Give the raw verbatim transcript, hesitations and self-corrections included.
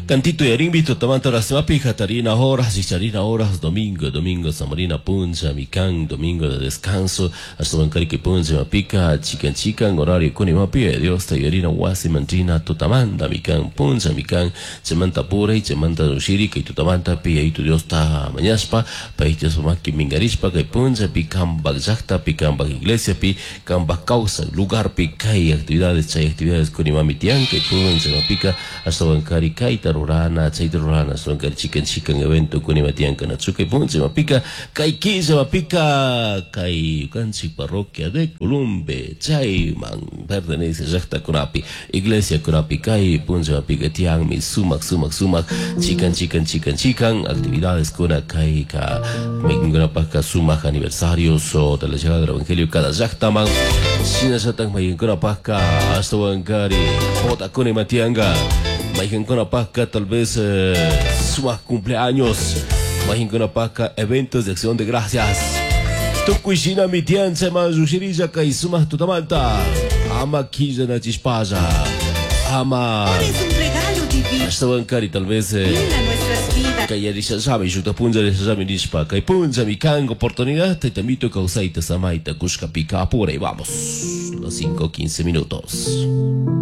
Cantito yarinmi tutamanta horas hatarina horas, richarina horas, domingo, domingo, samarina puncha, mikan, domingo de descanso, ashtawankari kay puncha mapika, chikan chikan, horario kuni mapi, Dios ta yarina wasi mantrina tutamanta mikan, puncha mikan, chaymanta puray, chaymanta rushiri, kay tutamanta pi yayitu Dios ta mañashpa, pay Dios maki mingarishpa, kay puncha pi kambak llaktapi, kambak iglesia pi, kambak kawsay lugar pi kay actividades, chay actividades kuni mami tiyan, kay puncha mapika, ashtawankari kayta rurana, chayta rurana, ashtawankari chikan chikan evento kuni matiyanka nachu kay puncha mapika, kay killa mapika, kay kanchik parroquia de Columbe, chayman pertenece llaktakunapi, iglesia kunapi, kay puncha mapika tiyanmi sumak sumak sumak, chikan chikan chikan chikan actividades kuna kay ka maykankunapaka sumak aniversarios o de la llegada del evangelio cada llaktaman, shinallatak maykankunapaka ashtawankari botakuna matiyanka, maykankunapaka tal vez eh, sumak cumpleaños, maykankunapaka eventos de acción de gracias. Tukuy shinami tiyan chayman llushirilla kay sumak tutamanta, ama killanachishpalla, ama Eres un regalo divino ashtawankari tal vez eh, a nuestras vidas. kay yarishallami shukta punlla yarishallami nishpa kay punllami kan oportunidad taytamito kawsayta samayta kushkapi kapuray vamos, los cinco quince minutos.